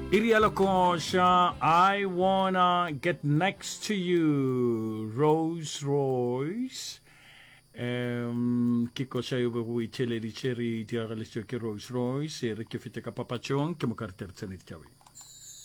Iri ya lekoša, I wanna get next to you, Rose Royce. Um, ke koša yo bego o itheeleditše re diragalešitšwe ke Rose Royce. E re ke fete ka papatšong, ke moka re tle re tsene ditabeng.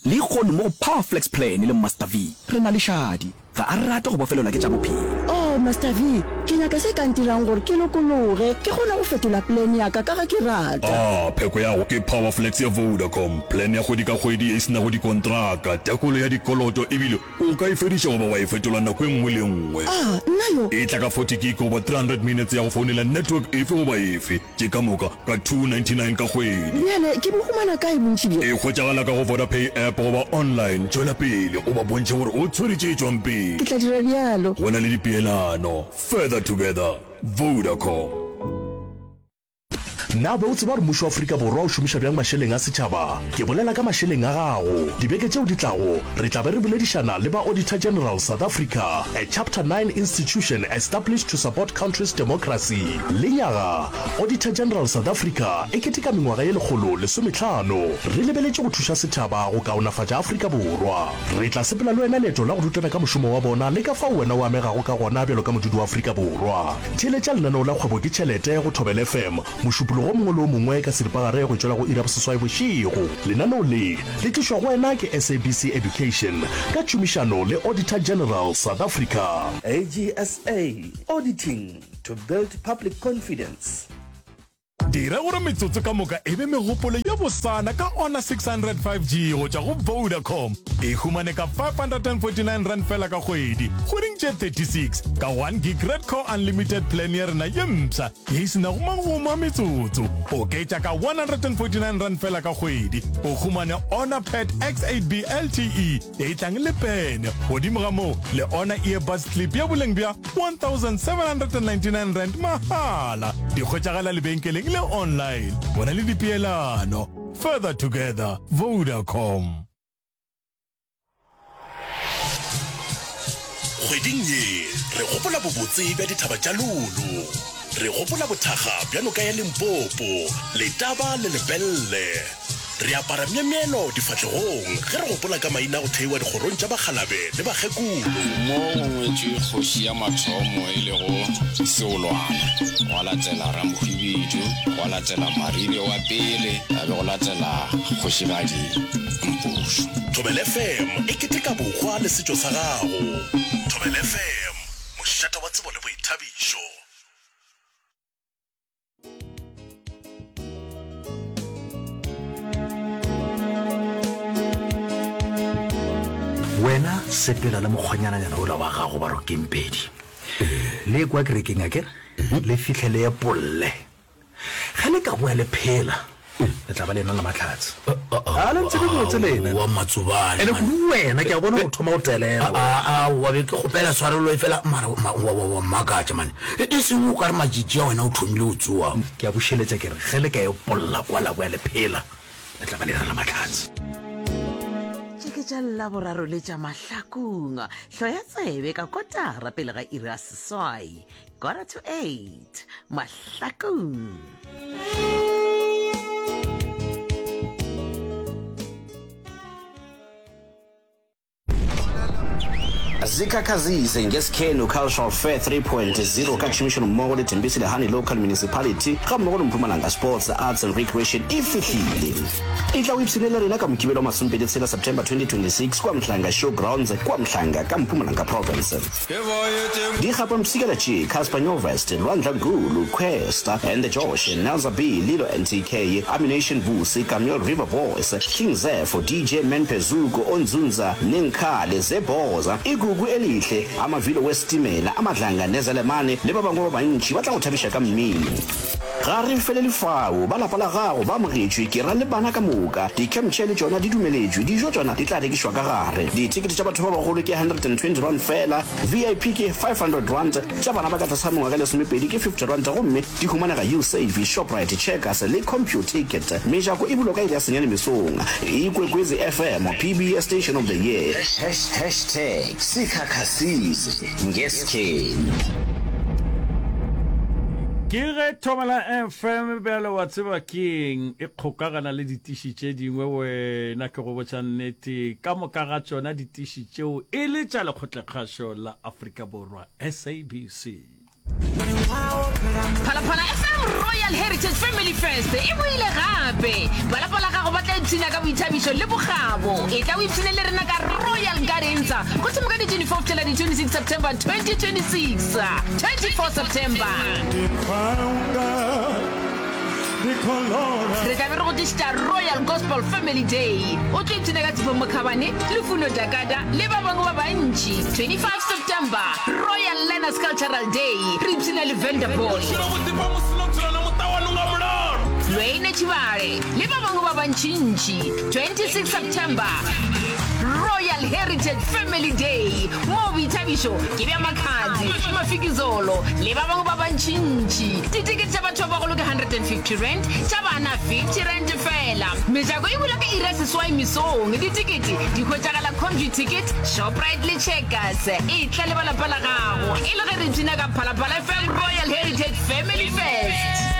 Lehono mo go Power Flex Plan le Master V re na le Shadi. Ga a rate go bofelelwa ke tša bophelo. Oh, Master V, ke nyaka se ka ntirang gore ke lokologe, ke kgone go fetola plan ya ka ka ge ke rata. Ah, pheko ya go ke Power Flex ya Vodacom, plan ya kgwedi ka kgwedi ye e se nago dikontraka, tekolo ya dikoloto ebile O ka e fediša goba wa e fetola nako e nngwe le e nngwe. A, nna yo? E tla ka 40 gig goba 300 minutes ya go founela network efe goba efe, tše ka moka ka 299 ka kgwedi. Bjale ke bo humana kae bontši bjo? E hwetšagala ka go Vodapay app goba online. Tšwela pele o ba bontšhe gore o tshwere tše tšwang pele. Ke tla dira bjalo. Go na le dipeelano. Further together. Vodacom. Na o be o tseba gore mmušo wa Afrika Borwa o šomiša bjang mašeleng a setšhaba? Ke bolela ka mašeleng a gago. Dibeke tšeo di tlago, re tla be re boledišana le ba Auditor General South Africa, a Chapter 9 institution established to support country's democracy. Lenyaga, Auditor General South Africa e keteka mengwaga ye 150. Re lebeletše go thuša setšhaba go kaonafatša Afrika Borwa. Re tla sepela le wena leeto la go rutana ka mošomo wa bona le ka fao wena o amegago ka gona bjalo ka modudi wa Afrika Borwa. Theeletša lenaneo la Kgwebo ke Tšhelete go Thobela FM Mošupologo o mongwe le o mongwe ka seripagare go tšwela go iri ya boseswai bošego. Lenaneo le le tlišwa go wena ke SABC Education ka tšhomišano le Auditor General South Africa. AGSA, Auditing to build public confidence. Dira gore metsotso ka moka e be megopolo ye bosana ka Honor 600 5G go tšwa go Vodacom. E humane ka R549 feela ka kgwedi, kgweding tše 36, ka 1 gig Redco Unlimited plan ya rena ye mpsha ye e se nago magomo a metsotso. Oketša ka R149 feela ka kgwedi, o humane Honor Pad X8B LTE ye e tlang le pene. Godimo ga moo, le Honor Earbuds Clip ya boleng bja R1799 mahala. Di hwetšagala lebenkeleng le online. Bona le dipeelano. Further together, Vodacom. Kgweding ye re gopola bobotse bja dithaba tša Lulu. Re gopola bothakga bja noka ya Limpopo, Letaba le Lepelle. Re apara myemyelo difahlegong ge re gopola ka maina a go theiwa dikgorong tša bakgalabe le bakgekolo. Mo go ngwetšwe kgoši ya mathomo e lego Seolwana, gwa latela Ramohwibidu, gwa latela Maribe wa pele, ga be go latela Kgošigadi Mpušo. Thobela FM e keteka bohwa le setšo sa gago. Thobela FM, mošate wa tsebo le boithabišo. Wena sepela le mokgonyananyana ola wa gago ba Rokempedi. Le kwa kerekeng akere? Le fihle le epolle. Ge le ka boa le phela, le tla ba le ena le mahlatse. A le ntsebe botse lena. Wa Matsobane. Ene kudu wena ke a bona o thoma go telela. A wa be ke kgopela tshwarelo e fela mara wa wa wa mmakatša mane. E e seng o ka re matšitši a wena o thomile go tsoa. Ke a bušeletša ke re ge le ka epolla kwa la boa le phela, le tla ba le ena le mahlatse. Tše ke tša Laboraro le tša Mahlakong. Hloya tsebe ka kotara pele ga iri ya seswai. Quarter to 8 Mahlakong. Zikhakhazise ngeSkhenu Cultural Fair 3.0 ka tšhomišanommogo le Thembisile Hani Local Municipality gammogo le Mpumalanga Sports, Arts and Recreation e fihlile. E tla o ipshine le rena ka Mokibelo wa masomepedi tshela September 2026 kua Mhlanga Show Grounds kua Mhlanga ka Mpumalanga Province. Di gapa mpshikela tše, Cassper Nyovest, Lwandla Gulu, Kwesta and the Josh, Nelza B, Lilo NTK, Ammunition Vusi, Kameel River Boys, King Zepho, DJ Man Phezuko, Onzunza, Nenkhale, Zebhoza, Igugu Elihle, Amavilo Wesitimela, Amadlanga Nezelemane le ba bangwe ba bantši ba tla go thabiša ka mmino. Ga re felele fao, ba lapa la gago ba amogetšwe, ke ra le bana ka moka. Di-camp chair le tšona di dumeletšwe, dijo tšona di tla rekišwa ka gare. Dithekete tša batho ba bagolo ke R120 feela, VIP ke R500, tša bana ba ka tlase ga mengwaga e lesomepedi ke R50 gomme di humanega Usave, Shoprite, Checkers le Computicket. Mejako e bulwa ka iri ya senyane mesong. Ikwekwezi FM, PBS Station of the Year. Hashtag Sikhakhasile ngeSkhenu. Ke ge Thobela FM bjale wa tseba keng e kgokagana le ditiši tše dingwe wena ke go botša nnete ka moka ga tšona ditiši tšeo e le tša lekgotlakgašo la Afrika Borwa SABC. Phalaphala FM Royal Heritage Family Fest e boile gape. Ba lapa la gago ba tla ipshina ka boithabišo le bokgabo. Etla o ipshine le rena ka Royal Gardens go thoma ka di 24 go fihlela di 26 September 2026. 24 September. Re tla be re go tlišetša Royal Gospel Family Day. O tlo ipshina ka Tshepo Mokhabane, Lufuno Dakada le ba bangwe ba bantši. 25 September, Royal Learners Cultural Day, re ipshina le Vanderboy. Lwayne Tshibale le ba bangwe ba bantšintši. 26 September, Royal Heritage Family Day, moo boithabišo ke bja Makhadzi, Mafikizolo le ba bangwe ba bantšintši. Ditekete tša batho ba bagolo ke R150, tša bana R50 feela. Mejako e bula ka iri ya seswai mesong. Ditekete di hwetšagala Computicket, Shoprite le Checkers. Etla le ba lapa la gago e le ge re ipshina ka Phalaphala FM Royal Heritage Family Fest.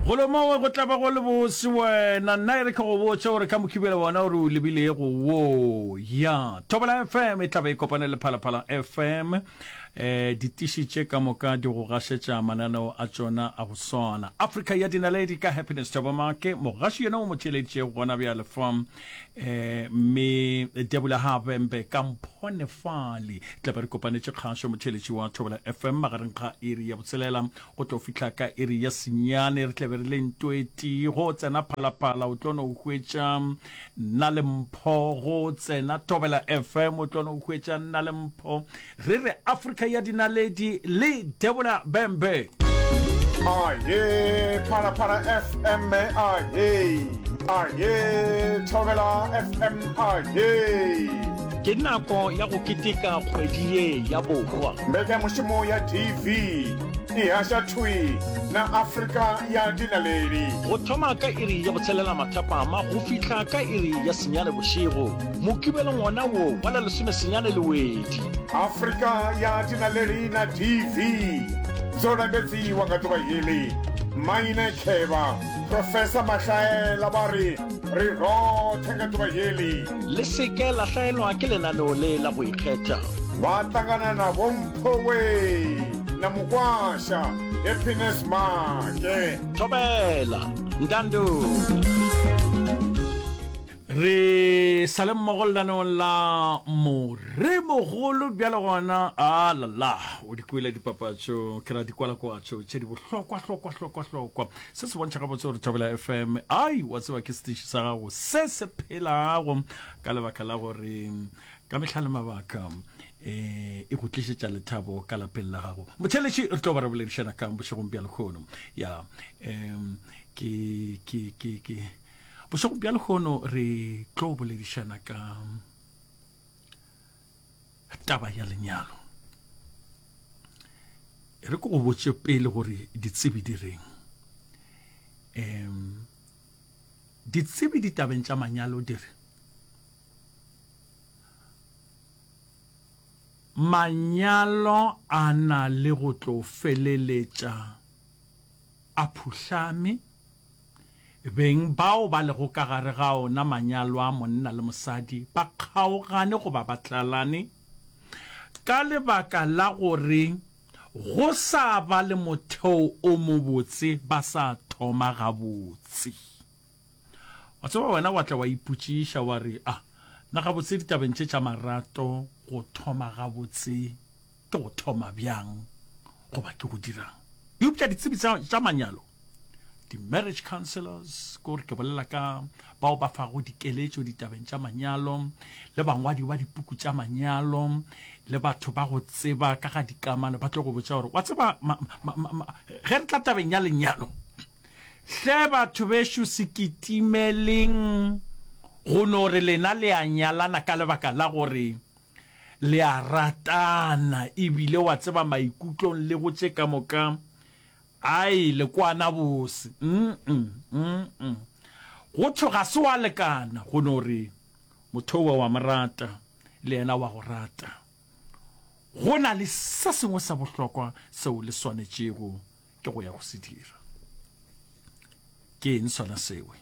Golo mongwe go tla ba go le bose wena. Nna e re ke go botše gore ka Mokibelo wona o re o lebilego wo. Ya, Thobela FM e tla be e kopane le Phalaphala FM. Eh, ditiši tše ka moka di go gašetša mananeo a tšona a go swana. Afrika ya Dinaledi ka Happiness Thabamake, mogaši yena o mo theeleditšego gona bjale fa. Eh, mme Debula Habembe ka Mphone Fale. Tla be re kopanetše kgašo motheeletši wa Thobela FM magareng ga iri ya botshelela go tlo fihla ka iri ya senyane. Re tla be re le ntweti go tsena Phalaphala o tlo no hwetša Nna le Mpho, go tsena Thobela FM o tlo no hwetša nna le Mpho. Re re Afrika ya Dinaledi le Debola Bembe. Aye, Phalaphala FM, aye, aye, Thobela FM, aye. Ke nako ya go keteka kgwedi ye ya bohwa. Mbekanyamošomo ya DV e haša thwi na Afrika ya Dinaledi. Go thoma ka iri ya botshelela mathapama go fihla ka iri ya senyane bošego, Mokibelong wona wo wa la lesomesenyane Lewedi. Afrika ya Dinaledi na DV dzo lambedziwa nga ḓuvha heḽi. Maine Khevha, Professor Mahlaela vha ri, Ri roṱhe nga ḓuvha heḽi. Le se ke la hlaelwa ke lenaneo le la go ikgetha. Vha ṱangana na Vho Mphowe na Mukwasha Happiness Maake. Thobela, Ntando. Re sa le mmogo lenaneong la Moremogolo bjale gona a la la o di kwele dipapatšo ke ra dikwalakwatšo tše di bohlokwa hlokwa hlokwa hlokwa. Se se bontšha gabotse gore Thobela FM ai wa tseba ke setiši sa gago se se phelago ka lebaka la gore ka mehla le mabaka eh e go tlišetša lethabo ka lapeng la gago. Motheeletši re tlo ba re boledišana kang bošegong bja lehono ya um ke ke ke ke Bošego bja lehono re tlo boledišana ka taba ya lenyalo. E re ke go botše pele gore ditsebi di reng. Um ditsebi ditabeng tša manyalo di re manyalo a na le go tlo feleletša a phuhlame Beng bao ba lego ka gare ga ona manyalo a monna le mosadi ba kgaogane goba ba tlalane ka lebaka la gore go sa ba le motheo o mobotse ba sa thoma gabotse. Wa tseba wena wa tla wa ipotšiša wa re, A na gabotse ditabeng tše tša marato go thoma gabotse ke go thoma bjang goba ke go dira'ng? Eupša ditsebi tša manyalo di-marriage counselors, ke gore ke bolela ka bao ba fago dikeletšo ditabeng tša manyalo, le bangwadi ba dipuku tša manyalo, le batho ba go tseba ka ga dikamano, ba tlo go botša gore wa tseba ge re tla tabeng ya lenyalo, hle batho bešo se kitimeleng go no re lena le a nyalana ka lebaka la gore le a ratana ebile wa tseba maikutlong le go tše ka moka Ai, le kwana bose. Mm-mm, mm-mm. Go thwe ga se wa lekana go no re motho owe wa mo rata le yena wa go rata. Go na le se sengwe sa bohlokwa seo le swanetšego. ke go ya go se dira. Ke eng sona sewe?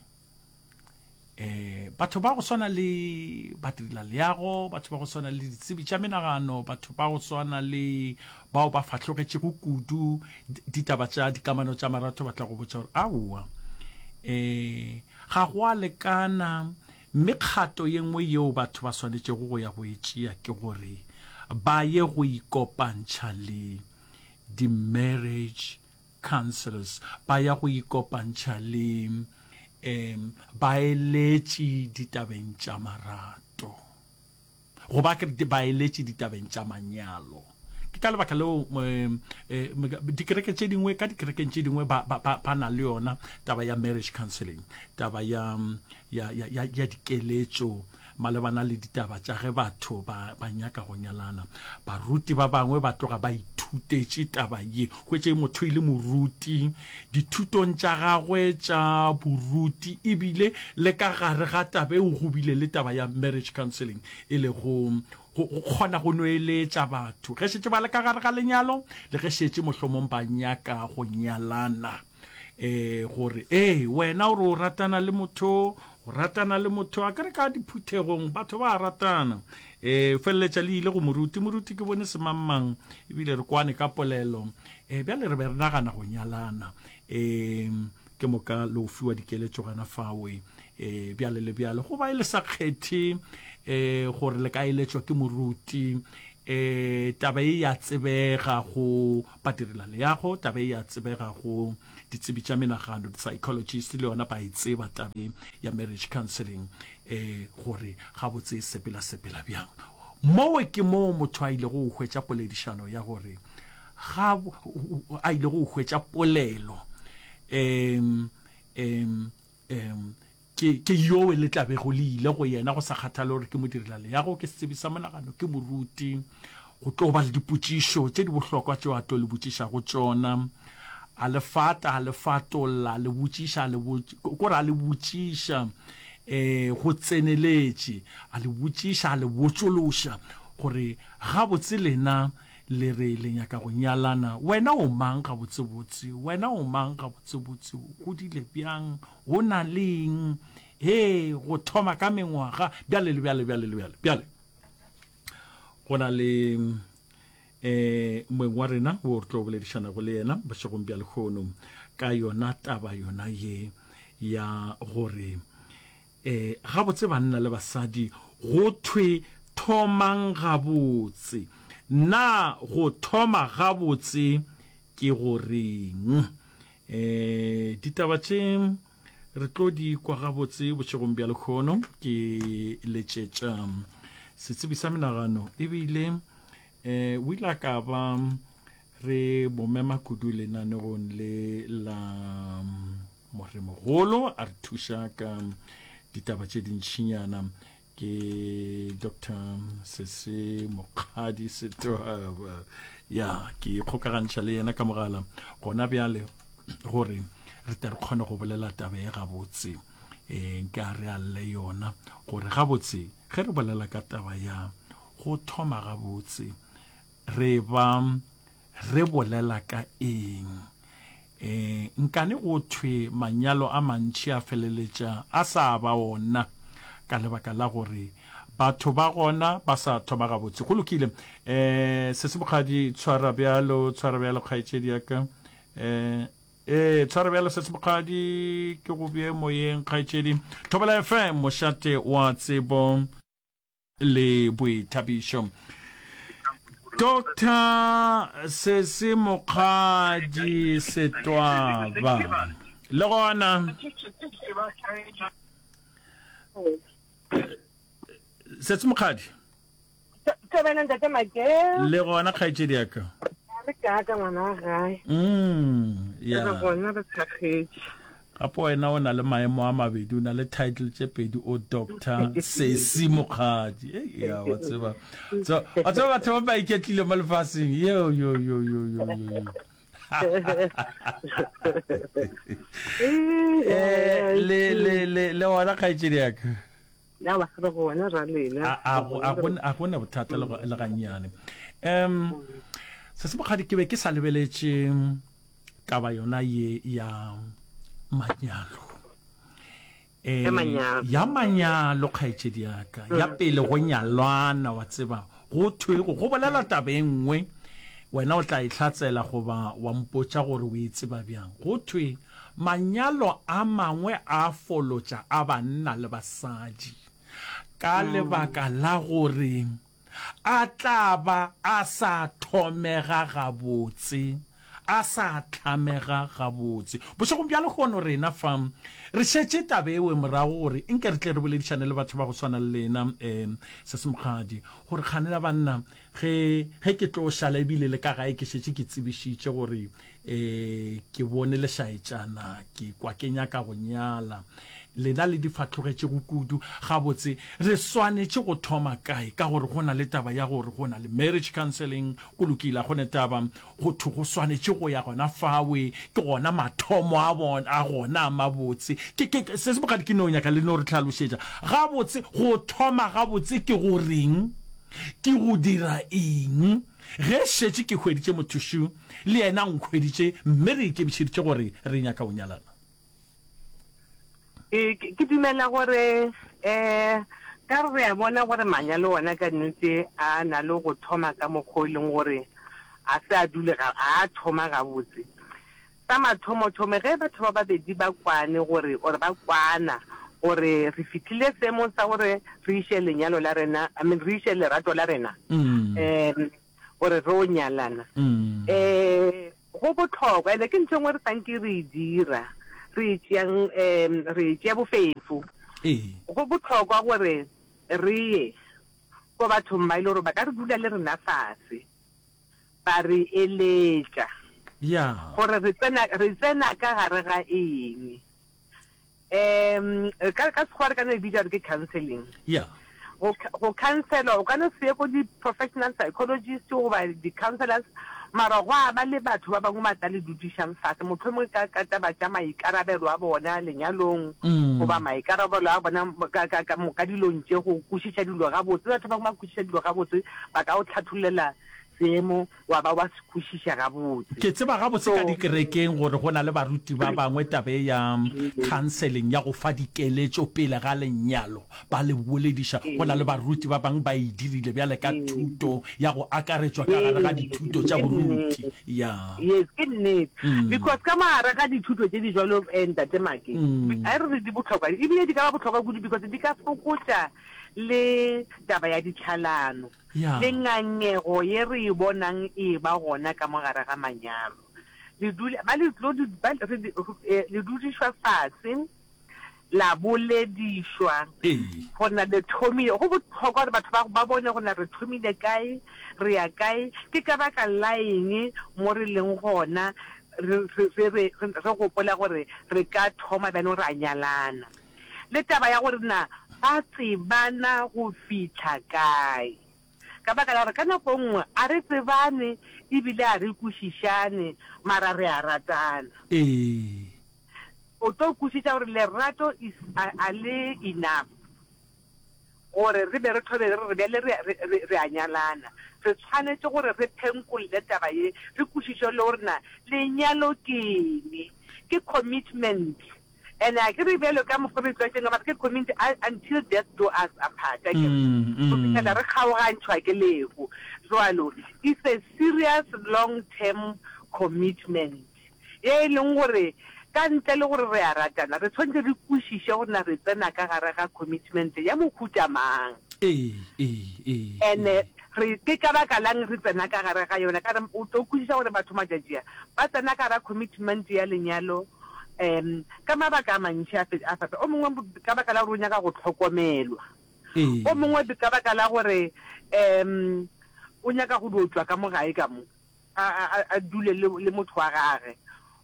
Eh, batho ba go swana le badirelaleago, batho ba go swana le ditsebi tša menagano, batho ba go swana le bao ba fahlogetšego kudu ditaba tša dikamano tša marato ba tla go botša gore aowa, eh, ga go a lekana. Mme kgato ye nngwe yeo batho ba swanetšego go ya go e tšea ke gore ba ye go ikopantšha le di-marriage councils, ba ya go ikopantšha le um baeletši ditabeng tša marato, goba ke re baeletši ditabeng tša manyalo. Ke ka lebaka leo um dikereke tše dingwe, ka dikerekeng tše dingwe ba, ba, ba, ba na le yona taba ya marriage counseling, taba ya, ya, ya, ya, ya dikeletšo malebana le ditaba tša ge batho ba, ba nyaka go nyalana. Baruti ba bangwe ba tloga ba ithutetše taba ye. Hwetše motho e le moruti dithutong tša gagwe tša boruti, ebile le ka gare ga taba eo go bile le taba ya marriage counseling, e lego go, go kgona go no eletša batho ge šetše ba le ka gare ga lenyalo le ge šetše mohlomong ba nyaka go nyalana. E, gore, ee, wena o re o ratana le motho, o ratana le motho, a ke re ka diphuthegong batho ba ratana. E, feleletša le ile go moruti, moruti ke bone semangmang, ebile re kwane ka polelo. E, bjale re be re nagana go nyalana. E, ke moka le o fiwa dikeletšo gana fawe. E, bjale le bjale, goba e le sa kgethe, e, gore le ka eletšwa ke moruti. E, taba e ya tsebega go badirelaleago, taba e ya tsebega go ditsebi tša menagano, di-psychologist, le yona ba e tseba taba e ya marriage counseling, e, gore gabotse e sepela-sepela bjang. Mowe ke moo motho a ilego go hwetša poledišano ya gore ga, a ilego go hwetša polelo, um, um, um, Ke, ke yowe le tla bego le ile go yena, go sa kgathale gore ke modirelaleago, ke setsebi sa monagano, ke moruti. Go tlo ba le dipotšišo tše di bohlokwa tšeo a tlo le botšišago tšona. A le fata, a le fatolla, a le botšiša, a le botš-, kore a le botšiša um go tseneletše, a le botšiša, a le botšološa gore gabotse lena le re le nyaka go nyalana. Wena o mang gabotsebotse? Wena o mang gabotsebotse? O godile bjang? Go na le eng? Hee, go thoma ka mengwaga, bjale le bjale, bjale le bjale. Bjale, go na le eh moeng wa rena wo re tlo boledišanago le yena bošegong bja lehono ka yona taba yona ye ya gore eh gabotse banna le basadi go thwe thomang gabotse. Na go thoma gabotse ke go reng? E, ditaba tše re tlo di kwa gabotse bošegong bja lekgono. Ke letšetša setsebi sa menagano ebile e, o ile a ka ba re mo mema kudu lenanegong le la moremogolo a re thuša ka ditaba tše dintšhinyana. Ke Doctor Sese Mokgadi Setoaba. Ya, ke ikgokagantšha le yena ka mogala gona bjale gore re tle re kgone go bolela taba e gabotse. E, nka re alle yona gore gabotse ge re bolela ka taba ya go thoma gabotse re ba Re bolela ka eng? E, nkane go thwe manyalo a mantši a feleletša a sa ba ona ka lebaka la gore batho ba gona ba sa thoma gabotse. Go lokile. E, Sesi Mokgadi, tshwara bjalo, tshwara bjalo kgaetšedi ya ka. E, e, tshwara bjalo Sesi Mokgadi, ke go bee moyeng kgaetšedi. Thobela FM, mošate wa tsebo. le boithabišo. Doctor Sesi Mokgadi Setwaba le gona Sesi Mokgadi Thobela ntate Make. Le gona kgaetšedi ya ka. Re ka ngwana wa gae. Mm, ya. Re gona re tshakgetše. Gape wena o na le maemo a mabedi, o na le title tše pedi, o Doctor Sesi Mokgadi. Ei, ya, wa tseba. So, wa tseba batho ba ba iketlile mo lefaseng. Yo, yo, yo, yo, yo, yo, yo. Eh, le, le, le, le gona kgaetšedi ya ka. Ya ba re gona ra lena. A, a, a, a, a gona bothata le, le gannyane. Um, Sesi Mokgadi, ke be ke sa lebeletše. taba yona ye ya manyalo. Ya manyalo. Ya manyalo, kgaetšedi ya ka. Ya pele go nyalwana, wa tseba, go thwe go bolela taba e nngwe, wena o tla e hlatsela goba wa mpotša gore o e tseba bjang. Go thwe manyalo a mangwe a folotša a banna le basadi ka lebaka la gore A tla ba a sa thomega gabotse, a sa hlamega gabotse. Bošegong bja lehono rena fa re šetše taba ewe morago gore nke re tle re boledišane le batho ba go swana le lena, um Sesi Mokgadi, gore kgane la banna ge, ge ke tlo šala ebile le ka gae ke šetše ke tsebišitše gore um ke bone lešaetšana, ke kwa ke nyaka go nyala. Lena le di fahlogetšego kudu. Gabotse, re swanetše go thoma kae? Ka gore go na le taba ya gore go na le marriage counselling, go lokile, ga go ne taba. Go thwe go swanetše go ya gona fawe, ke gona mathomo a bona, a gona a mabotse. Ke, ke, se se bogadi ke no nyaka le no re hlalošetša. Gabotse, go thoma gabotse ke go reng? Ke go dira eng? Ge šetše ke hweditše motho šo, le yena o nkhweditše, mme re ikemišeditše gore re nyaka go nyalana. Ke, ke, ke dumela gore um ka re re a bona gore manyalo ona ka nnete a na le go thoma ka mokgwa o e leng gore a se a dule ga, a thoma gabotse. Sa mathomothomo ge batho ba babedi ba kwane gore, or ba kwana gore re fihlile seemong sa gore re iše lenyalo la rena, I mean re iše lerato la rena, um gore re o nyalana, um go bohlokwa ene ke ntho e nngwe re sa nke re e dira, re e tšeang, um re e tšea bofefo. Go bohlokwa gore re ye ko bathong ba e le gore ba ka re dula le rena fase, ba re eletša gore re tsena, re tsena ka gare ga eng. Um ka, ka Sekgowa re ka no e bitša gore ke counselling. Go, go counselwa, o ka no se ye ko di-professional psychologist goba di-counsellors, mara gwa ba le batho ba bangwe ba tla le dudišang fase, mohlomongwe ka, ka taba tša maikarabelo a bona lenyalong, goba maikarabelo a bona ka, ka, ka, ka dilong tše, go kwešiša dilo gabotse. Batho ba bangwe ba kwešiša dilo gabotse, ba ka o hlathollela seemo wa ba wa se kwešiša gabotse. Ke tseba gabotse ka dikerekeng gore go na le baruti ba bangwe taba e ya counseling ya go fa dikeletšo pele ga lenyalo ba le bolediša. Go na le baruti ba bangwe ba e dirile bjale ka thuto ya go akaretšwa ka gare ga dithuto tša boruti. Ya. Yes, ke nnete. Because ka mo gare ga dithuto tše di jwalo, Ntate Make, a re re di bohlokwa, ebile di ka ba bohlokwa kudu because di ka fokotša le taba ya ditlhalano. Le ngangego ye re e bonang e eba gona ka mo gare ga manyalo. Le dula, ba le tlo, ba, re, le dudišwa fase, la boledišwa, gore na le thomile. Go bohlokwa gore batho ba, ba bone gore na re thomile kae, re ya kae, ke ka baka la eng mo re leng gona, re, re, re, re, re gopola gore re ka thoma bjanong ra nyalana. Le taba ya gore na ba tsebana go fihla kae. Ka baka la gore ka nako e nngwe a re tsebane ebile a re kwešišane, mara re a ratana. Ee. O tlo kwešiša gore lerato is a, a le enough gore re be re thome re re bjale re, re, re, re a nyalana. Re tshwanetše gore re phenkolle taba ye, re kwešiše le gore na lenyalo ke eng. Ke commitment. And a ke re bjalo ka mokgwa re tlwaetšeng ka mara ke community until death do us apart, a ke re, go fihlela re kgaogantšhwa ke lehu. Jwalo it's a serious long term commitment ye e leng gore ka ntle le gore re a ratana, re tshwanetse re kwešiše gore na re tsena ka gare ga commitment ya mohuta mang. And re ke ka baka la'ng re tsena ka gare ga yona? Ka re o tlo kwešiša gore batho matšatši a ba tsena ka gara commitment ya lenyalo um ka mabaka a mantši a a fapa. O mongwe ka baka la gore o nyaka go hlokomelwa, o mongwe ka baka la gore um o nyaka go dio tšwa ka mo gae ka mo a, a, a dule le, le motho wa gage,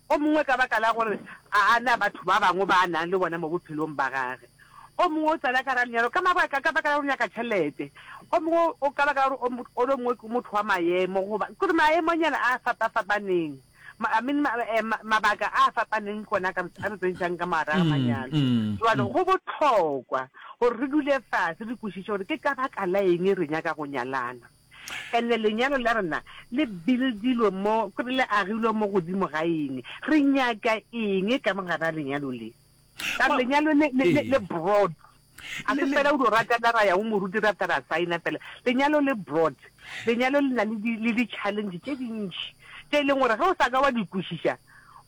o mongwe ka baka la gore a a na batho ba bangwe ba a nang le bona mo bophelong ba gage, o mongwe o tsena ka gara lenyalo ka mabaka ka baka la gore o nyaka tšhelete, o mongwe o ka baka la gore o, o mongwe ke motho wa maemo goba ke gore maemonyana a fapa-fapaneng. Ma, I mean, ma, eh, ma, mabaka a fapaneng ke ona a ka a re tsentšang ka mogare ga manyalo. Jwale go bohlokwa gore re dule fase re kwešiše gore ke ka baka la eng re nyaka go nyalana. And lenyalo la rena le buildilwe mo, kore le agilwe mo godimo ga eng? Re nyaka eng ka mo gare ga lenyalo le? Ka gore lenyalo le, le, le, le broad. A se fela o dio ratana ra ya go moruti ra feta ra saena fela. Lenyalo le broad. Lenyalo le na le di, le di-challenge tše dintši tše e leng gore ge o sa ka wa di kwešiša,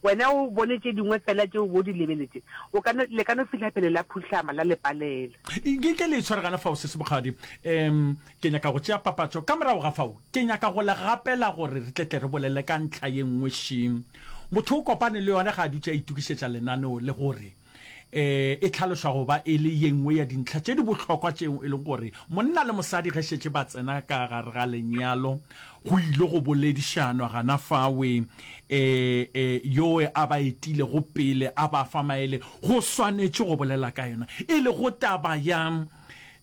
wena o bone tše dingwe fela tše o bo di lebeletše, o ka no, le ka no fihla pele la phuhlama, la le palela. Nke ke le tshware gana fao, Sesi Mokgadi. Um, ke nyaka go tšea papatšo. Ka morago ga fao, ke nyaka go le gapela gore re tle tle re bolele ka ntlha ye nngwe še. Motho o kopane le yona ge a dutše a itokišetša lenaneo le gore e e hlalošwa go ba e le ye nngwe ya dintlha tše di bohlokwa tšeo e lego gore monna le mosadi ge šetše ba tsena ka gare ga lenyalo go ile go boledišanwa gana fawe e, e, yoe a ba etilego pele a ba fa maele go swanetše go bolela ka yona e lego taba ya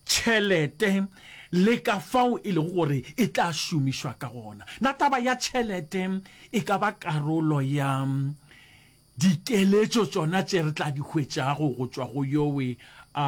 tšhelete le ka fao e lego gore e tla šomišwa ka gona. Na taba ya tšhelete e ka ba karolo ya Dikeletšo tšona tše re tla di hwetšago go tšwa go yowe a,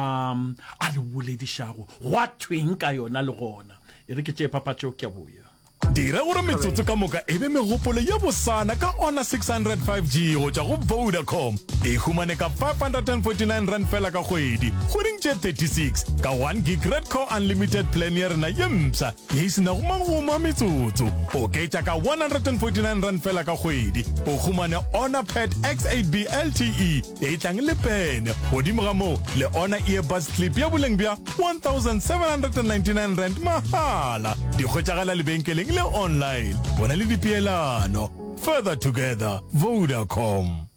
a re boledišago, gwa thweng ka yona le gona? E re ke tšee papatšo, ke a boya. Dira gore metsotso ka moka e be megopolo ye bosana ka Honor 600 5G go tšwa go Vodacom. E humane ka R549 feela ka kgwedi, kgweding tše 36, ka 1 gig Red Core Unlimited plan ya rena ye mpsha ye e se nago magomo a metsotso. Oketša ka R149 feela ka kgwedi, o humane Honor Pad X8B LTE ye e tlang le pene. Godimo ga moo, le Honor Earbuds Clip ya boleng bja R1799 mahala. Di hwetšagala lebenkeleng le online. Bona le dipeelano. Further together, Vodacom.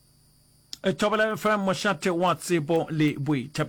Thobela FM, mošate wa tsebo le boithabišo.